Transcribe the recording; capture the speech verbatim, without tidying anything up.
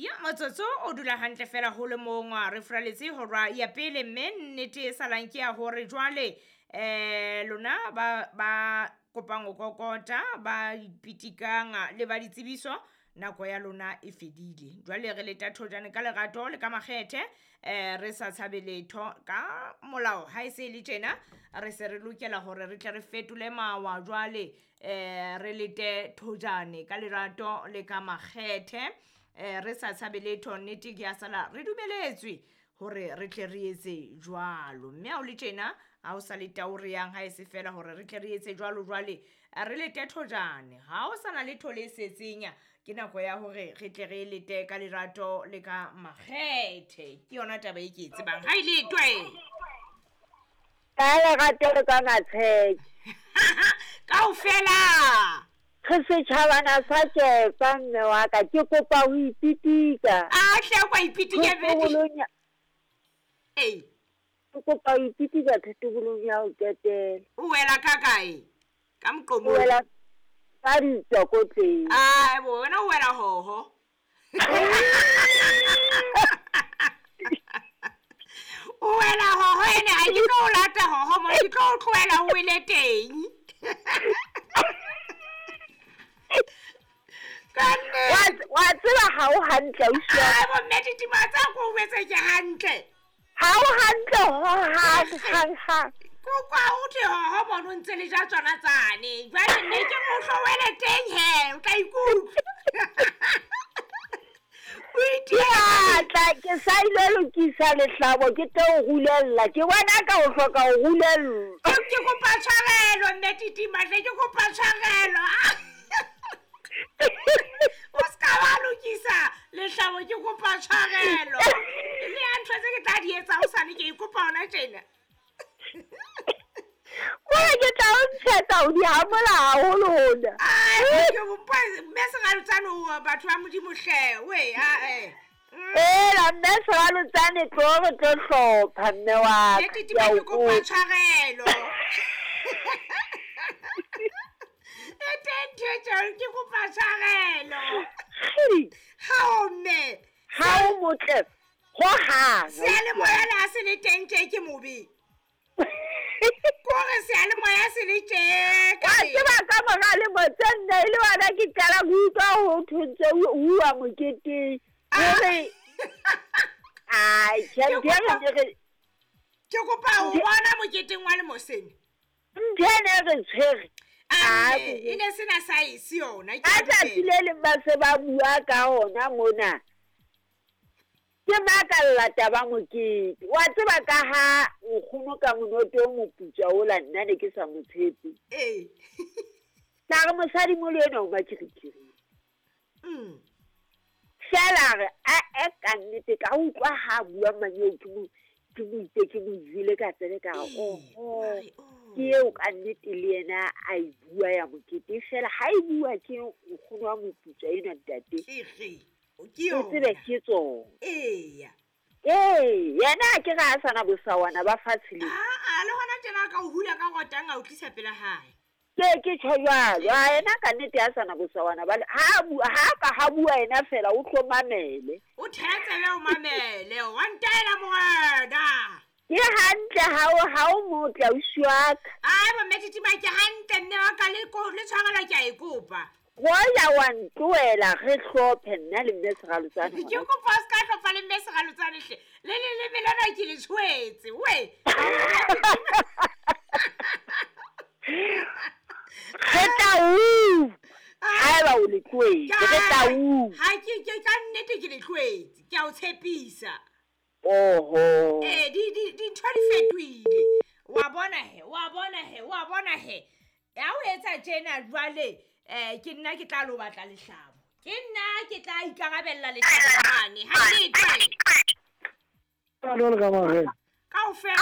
Ya motsotso o dula hantle fela ho le mong re furaletse hora ya pele, mme nnete e salang ke ya hore jwale eh lona ba ba kopang ho kokota ba ipitikang le ba ditsebiso, nako ya lona e fedile. Jwale re leta thojane ka lerato le ka makgethe, eh re sa tshabe letho ka molao. Ha e se le tjena re se re lokela hore re tle re fetole mawa jwale, eh re lete thojane ka lerato le ka makgethe, eh re sa tshabe letho. Nnete ke ya sala re dumeletswe hore re tle re etse jwalo, mme ha o le tjena ha o sa le tao re yang ha e se fela hore re tle re etse jwalo. Jwale re lete thojane, ha o sana letho le setseng, ke nako ya hore re tle re lete ka lerato le ka makgethe. Ke yona taba e ke e tsebang ha e letwe ka lerato le ka matsheke kaofela. Re setjhabana sa tjepa mme wa ka, ke kopa ho ipitika. A hle kwa ipitika bedi. Ee, ke kopa ho ipitika thetobolong ya ho qetela. O wela ka kae? Ka moqomong. O wela ka ditsokotleng. Ai bo, wena o wela hoho. O wela hoho ene ha ke tlo o lata hoho mo, ke tlo o tlohela o wele teng. Wa tseba ha o hantle ausi wa ka. Ai bo mme Titima, tsa ko o etse ke hantle. Ha o hantle ho hang hang hang. Ko kwa o the hoho mono ntse le ja tsona tsane. Jwale nne ke mo hlowele teng he, o tla ikutlwa. O itiatla ke sa ile lokisa lehlabo ke tlo o rulella. Ke bona ka o hloka ho rulella. Ke kopa tshwarelo mme Titima, hle ke kopa tshwarelo. O ska wa lokisa lehlabo, ke kopa tshwarelo. Le ya ntho tse ke tla di etsa o sane ke ikopa hona tjena. Kore ke tla o ntshetsa ho di hamola haholo hona. Ai ke bopa mme Seralotsane o batho ba Modimo hle we a eh. Ela mme Seralotsane tlo re tlo hlopha mme wa ka. Ke ke kopa tshwarelo. E teng ntho e tjalo, ke kopa tshwarelo. Ha o mme. Ha o motle ho hang. Seyalemoya le ha se le teng tje ke mobe. Kore seyalemoya se le tje. Wa tseba ka mora lemo tse nne e le wena ke qala ho utlwa ho thwe ntse o uwa moketeng. Hore ai tjhe ntho e re ke kopa ho bona moketeng wa lemo sena. Ntho ene re tshwere. E ne sena size yona. Ka tsatsi le leng ba se ba bua ka hona mona. Ke makalla taba mokete. Wa tseba ka ha nkgono ka monoto o moputswa ola nna ne ke sa mo tshepe. Ee. Tla re mosadi molo ena o makirikiri. Mm. Fela re a e ka nnete ka utlwa ha bua manyeo ke mo ke mo itse ke mo jwele ka tsebe ka re oho. Ke eo ka nnete le yena a e bua ya mokete fela ha e bua ke nkgono wa moputswa enwa ntate. Ke ke O tsebe ke tsona. Eya. Ee, yena ke ga a sana bosawana ba fatshe le. Ah, le hona tjena ka o hula ka rotang a o tlisa pela hae. Ke ke tjho jwalo, a yena ka nnete a sana bosawana ba ha bua ha ka ha bua yena fela o tlo mamele. O thetse o mamele, wa ntaela morena. Ke hantle ha o ha o motle ausi wa ka. Ai bo mme Titima ke hantle mme wa ka le ko le tshwarelo ke a e kopa. Goya wa ntlohela re hlophe nna le mme Seralotsane. Ke kopa o ska hlopha le mme Seralotsane hle. Le le le melana ke le tshwetse we. Re tla u. Haeba o le tlohetse, re tla u. Ha ke ke ka nnete ke le tlohetse, ke a o tshepisa. Oho. Eh di di dintho di fetohile. Wa bona he, wa bona he, wa bona he. Ya o etsa tjena jwale eh ke nna ke tla lo batla lehlabo. Ke nna ke tla ikarabella lehlabo mane. Ha le twe. Ka lona ka mare. Kaofela.